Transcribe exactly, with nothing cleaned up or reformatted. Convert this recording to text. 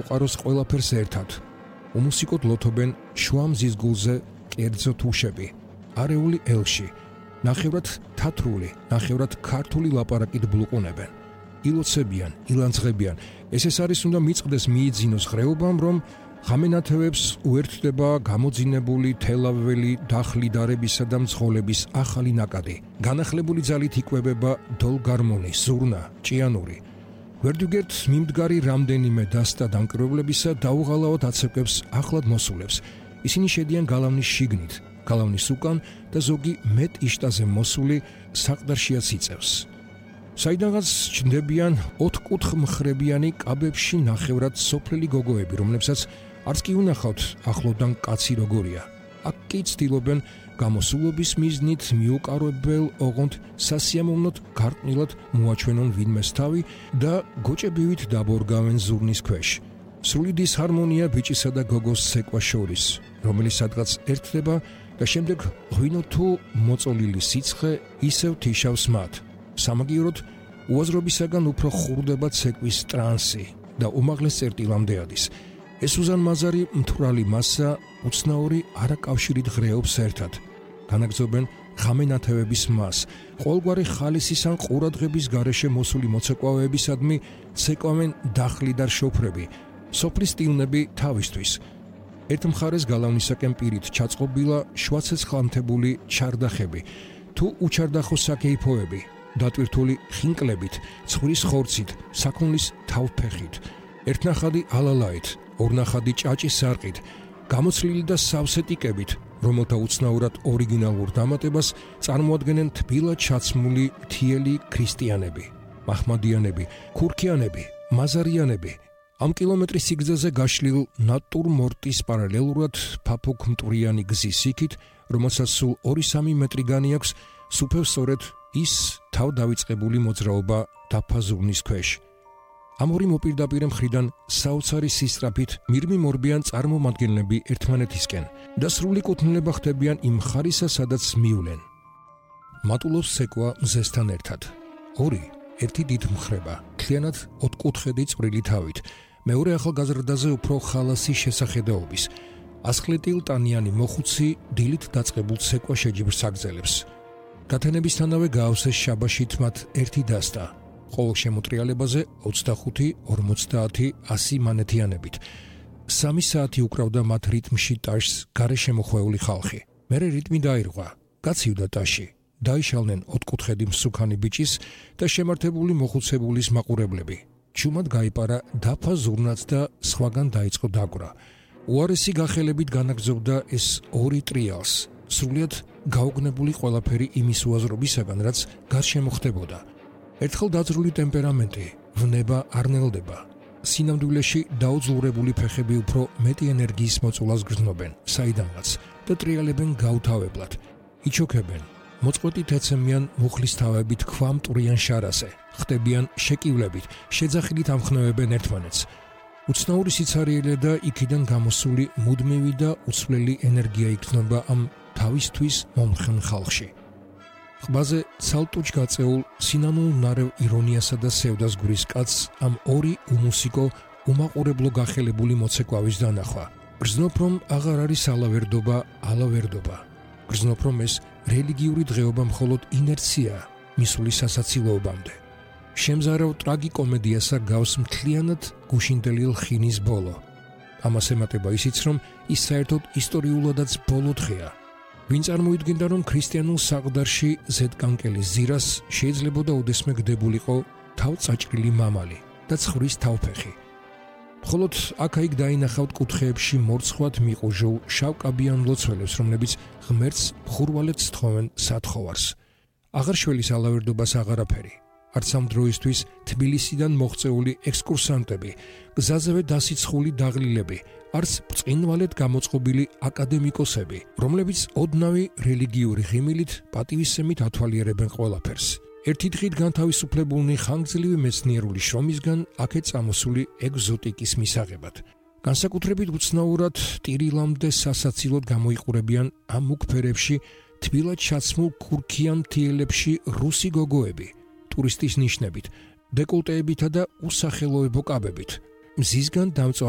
უყაროს ყველაფერს ერთად. უმუსიკოდ ლოთობენ შუა მზის გულზე კერძო თუშები, არეული ელში, ნახევრად თათრული, ნახევრად ქართული ლაპარაკით ბლუყუნებენ. ილოცებიან, ილანძღებიან, ეს ეს არის უნდა მიწყდეს მიიძინოს ხრეობამ, რომ ხამენათევებს უერთდება გამოძინებული თელაველი დახლიდარებისა და მძღოლების ახალი ნაკადი. განახლებული ძალით იკვებება დოლგარმონი, ზურნა, ჭიანური. ვერდუგერთ მიმდგარი რამდენიმე დასტა დამკვირვებლებისა დაუღალავად აცეკვებს ახლად მოსულებს. ისინი შედიან გალავნის შიგნით, გალავნის უკან და ზოგი მეტ იშტაზე მოსული საყდარშიაც იწევს. საიდანაც ჩნდებიან ოთხკუთხ მხრებიანი კაბებში ნახევრად სოფლელი გოგოები, რომლებსაც არც კი უნახავთ ახლოდან კაცი როგორია. აქ კი ცდილობენ გამოსულობის მიზნით მიუკარებელ ოღონდ სასიამოვნოდ გარყვნილად მოაჩვენონ ვინმეს თავი და გოჭებივით დაბორგავენ ზურნის ქვეშ. სრული დისჰარმონია ბიჭისა და გოგოს ცეკვა შორის, რომელიც სადღაც ერთდება და შემდეგ ღვინო თუ მოწოლილი სიცხე ისევ თიშავს მათ. სამაგიეროდ უაზრობისაგან უფრო ხურდება ცეკვის ტრანსი და უმაღლეს წერტილამდე ადის. ეს უზარმაზარი მთვრალი მასა უცნაური არაკავშირით ღრეობს ერთად. განაგრძობენ ხამენათევების მას, ყოველგვარი ხალისის ან ყურადღების გარეშე მოსული მოცეკვავეებისადმი ცეკვავენ დახლიდარ შოფრები, სოფლის ტილნები თავისთვის. ერთ მხარეს გალავნისაკენ პირით ჩაწყობილა შვაცეცხლანთებული ჩარდახები, თუ უჩარდახო საკეიფოები, დატვირთული ხინკლებით, ცხვრის ხორცით, საქონლის თავფეხით, ერთნახადი ალალაით, ორნახადი ჭაჭის სარყით, გამოცლილი და სავსე ტიკებით, რომელთა უცნაურად ორიგინალურ დამატებას წარმოადგენენ თბილად ჩაცმული თიელი ქრისტიანები, მაჰმადიანები, ქურქიანები, მაზარიანები. ამ კილომეტრის სიგრძეზე გაშლილ ნატურმორტის პარალელურად ფაფუქ მტვრიანი გზის იქით, რომელსაც სულ ორი-სამი მეტრი განიაქვს, სუფევ სწორედ ის თავ დავიწყებული მოძრაობა დაფაზურნის ქვეშ. ამ ორი მოპირდაპირე მხრიდან საოცარი სისწრაფით მირმიმორბიან წარმომადგენლები ერთმანეთისკენ და სრული კუთვნილება ხდებიან იმ ხარისა, სადაც მივლენ. მატულობს ცეკვა მზესთან ერთად. ორი, ერთი დიდ მხრება, მთლიანად ოთხკუთხედი წვრილი თავით, მეორე ახალგაზრდაზე უფრო ხალასი შესახედაობის. ასხლეტილტანიანი მოხუცი დილით დაწყებულ ცეკვა შეჯიბრს აგრძელებს. გათენებისთანავე გაავსეს შაბაშით მათ ერთი დასტა. ყოველ შემოტრიალებაზე ოცდახუთი, ორმოცდაათი, ასი მანეთიანებით. სამი საათი უკრავდა მათ რიტმში ტაშს გარეშემოხვეული ხალხი. მერე რიტმი დაირღვა, გაცივდა ტაში. დაიშალნენ ოთხკუთხედი მსუქანი ბიჭის და შემართებული მოხუცებულის მაყურებლები. ჩუმად გაიპარა დაფა ზურნაც და სხვაგან დაიწყო დაგვრა. უარესი გახელებით განაგრძობდა ეს ორი ტრიალს, სრულიად გაუგნებული ყველაფერი იმის უაზრობისაგან, რაც გარშემო ხდებოდა. ერთხელ დაძრული ტემპერამენტი, ვნება არ ნელდება. სინამდვილეში დაუძლურებული ფეხები უფრო მეტი ენერგიის მოწულას გრძნობენ, საიდანაც და ტრიალებენ გაუთავებლად. იჩოქებენ, მოწყვეტით ეცემიან მუხლის თავებით ქვამტვრიან შარაზე, ხტებიან შეკივლებით, შეძახილით ამხნევებენ ერთმანეთს. უცნაური სიცარიელე და იქიდან გამოსული მუდმივი და უცვლელი ენერგია იგრძნობა ამ თავისთვის მომხენ ხალხში. ყბაზე ცალტუჯ გაწეულ სინანულ ნარევ ირონიასა და სევდას გვრის კაცს ამ ორი უმუსიკო, უმაყურებლო გახელებული მოცეკვავის დანახვა. გრძნობ რომ აღარ არის ალავერდობა, ალავერდობა. გრძნობ რომ ეს რელიგიური დღეობა მხოლოდ ინერცია მისული სასაცილოობამდე. შემზარავ ტრაგიკომედიასა გავს მთლიანად გუშინდელი ლხინის ბოლო. ამას ემატება ისიც, რომ ის საერთოდ ისტორიულადაც ბოლო დღეა. ვინ წარმოიდგენდა, რომ ქრისტიანულ საყდარში ზედკანკელის ზირას შეიძლებოდა უდესმე გდებულიყო თავწაჭრილი მამალი და ცხვრის თავფეხი. მხოლოდ აქა-იქ დაინახავთ კუთხეებში მორცხვად მიყუჟულ შავკაბიან ლოცველებს, რომლებიც ღმერთს მხურვალედ სთხოვენ სათხოვარს. აღარ შველის ალავერდობას აღარაფერი. არც ამ დროისთვის თბილისიდან მოღწეული ექსკურსანტები, გზაზევე დასიცხული დაღლილები, არც ბრწყინვალედ გამოწყობილი აკადემიკოსები, რომლებიც ოდნავი რელიგიური ღიმილით პატივისცემით ათვალიერებენ ყველაფერს. ერთი დღით განთავისუფლებულნი ხანგრძლივი მეცნიერული შრომისგან აქეთ წამოსული ეგზოტიკის მისაღებად. განსაკუთრებით უცნაურად ტირილამდე სასაცილოდ გამოიყურებიან ამ მუქფერებში, თბილად ჩაცმულ ქურქიან მთიელებში რუსი გოგოები, ტურისტის ნიშნებით, დეკოლტეებითა და უსახელოებო კაბებით. მზისგან დამწვარი